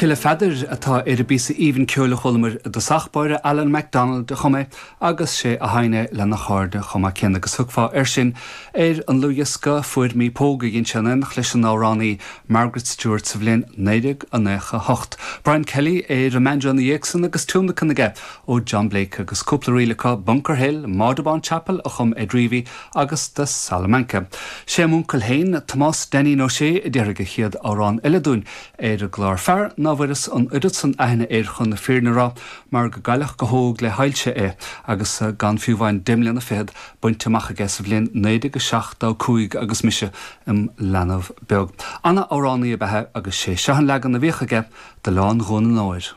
Cille Pheadair atá ar an bpíosa aoibhinn ceoil a chualamar i dtosach báire, Alan McDonald a chum é agus sé a sheinn é lena chairde chomh maith céanna agus thiocfá air sin ar an ndlúthdhiosca Fuair Mé Póg a dhein sé in éineacht leis an amhránaí Margaret Stewart sa bhliain 1998. Brian Kelly ar an mbanjo ina dhiaidh san agus tionlacan aige ó John Blake agus cúpla ríl acu, Bunker Hill, Maudabawn Chapel a chum Ed Reavy agus The Salamanca. Sé m'uncail féin, Tomás Dainín Ó Sé, a déarfaidh an chéad amhrán eile dúinn ar an gclár. Fear ná bhfuireas an oiread san aithne air chun na fírinne a rá mar go gcailleadh go hóg le hailse é agus gan fiú amháin deich mbliana fichead bainte amach aige sa bhliain 1975 agus mise im leanbh beag. Ana-amhránaí ab ea é agus sé seo an leagan a bhíodh aige d'Oileán Dhún an Óir.